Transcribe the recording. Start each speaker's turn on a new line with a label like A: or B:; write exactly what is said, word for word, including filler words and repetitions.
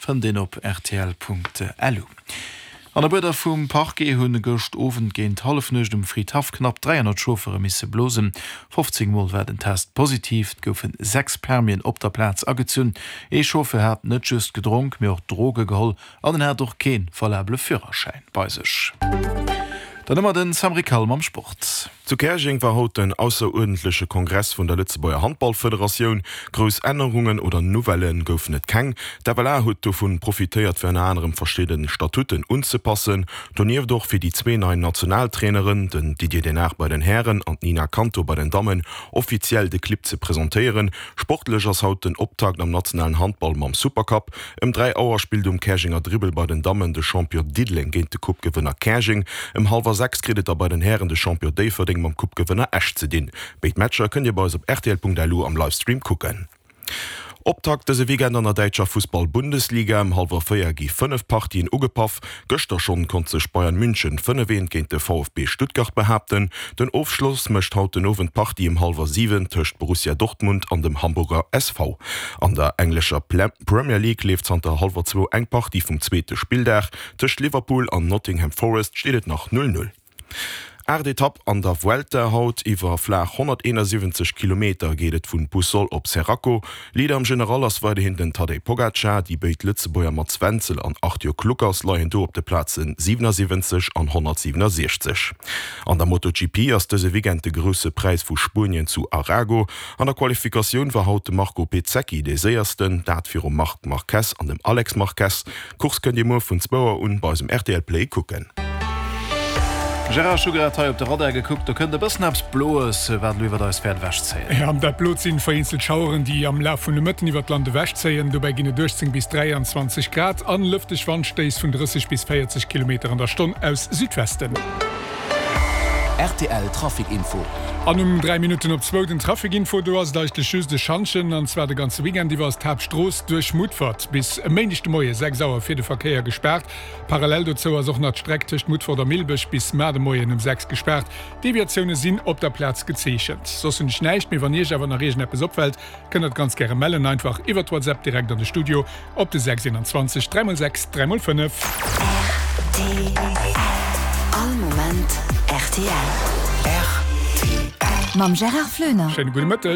A: fënnt een op rtl.lu. An der Buerder vum Parquet hunn gëscht Owend géint Hallefnuecht um Fridhaff knapp dräihonnert Chauffeure misse blosen. fofzéng Mol war den Test positiv, et goufen sechs Permien op der Plaz agezunn. Ee Chauffeur hat net just gedronk, mee och Droge geholl an en hat och kee valabele Führerschäin bei sech. Dann hu mer den Sam Rickal mam Sport.
B: Zu Käerjeng war haut den ausseruerdentleche Kongress vun der Lëtzebuerger Handballfederatioun. Grouss Ännerungen oder Nouvellë goufen et keng. D'F L A huet dovun profitéiert fir ënner anerem verschidde Statuten unzepassen. Donieft och fir déi zwee nei Nationaltraineren, den Didier Denard bei den Hären an d'Nina Canto bei den Dammen, offiziell de Clibb ze presentéieren. Sportlech ass haut den Optakt am nationalen Handball mam Supercup. Ëm dräi Auer spillt um Käerjenger Dribbel bei den Dammen de Champion Diddeleng géint de Coupe-Gewënner Käerjeng. Ëm hallwer sechs kritt et da bei den Hären de Champion Déifferdeng mam Coupe-Gewënner Esch ze dinn. Béid Matcher kënnt Dir bei eis op rtl.lu am Livestream kucken. Optakt dëse Weekend an der däitscher Fussball-Bundesliga. Ëm hallwer véier gi fënnef Partien ugepaff. Gëschter schonn konnt sech Bayern München fënnef eent géint de V F B Stuttgart behaapten. Den Ofschloss mécht haut den Owend d'Partie ëm hallwer siwen tëscht Borussia Dortmund an dem Hamburger S V. An der englescher Premier League leeft zanter hallwer zwou eng Partie vum zweete Spilldag. Tëscht Liverpool an Nottingham Forest steet et nach null null. Aacht Etapp an der Vuelta haut, Iwwer flaach honnerteenasiwwenzeg Kilometer geet et vun Puçol op Xeraco. Leader am General ass weiderhin den Tadej Pogacar. Déi béid Lëtzebuerger Mats Wenzel an Arthur Kluckers leien do op de Plaze siwenassiwwenzeg an honnertsiwenassiechzeg. An der MotoGP ass dëse Weekend de Grousse Präis vu Spuenien zu Arago. An der Qualifikatioun war haut de Marco Bezzecchi dee Séiersten, dat virum Marc Marquez an dem Alex Marquez. D'Course kënnt Dir muer vun zwou Auer un bei eisem R T L Play kucken.
A: Gérard, ech hu grad hei op de Radar gekuckt, do kënnt e bëssen eppes Bloes, wat elo iwwert eis wäert ewechzéien.
C: Jo, dat Blot sinn vereenzelt Schaueren, déi am Laf vun de Mëtten iwwert d'Land ewechzéien. Dobäi ginn et uechtzéng bis dräianzwanzeg Grad an lëfteg Wandstéiss vun drësseg bis véierzeg Kilometer an der Stonn aus Südwesten.
D: R T L Trafic Info.
C: An um dräi Minutten op zwou den Trafic Info. Do ass et eigentlech just e Schantjen, an zwar de ganze Weekend iwwer ass d'Haaptstrooss duerch Mutfert bis e Méindeg de Moie sechs Auer fir de Verkéier gespaart. Parallel dozou ass och nach d'Streck tëscht Mutfert a Millbech bis mar de Moien um sechs gespaart. Deviatioune sinn op der Plaz gezeechent. Soss hunn ech näischt méi. Wann Iech awer nach iergendeppes opfält, kënnt der et ganz gäre mellen. Einfach iwwert WhatsApp direkt an de Studio op de sechs eenanzwanzeg dräi mol sechs dräi mol fënnef.
E: R T L. All Moment R T L.
D: R T L.
E: Mam Gérard Floener.
C: Schéine gudde Mëtteg.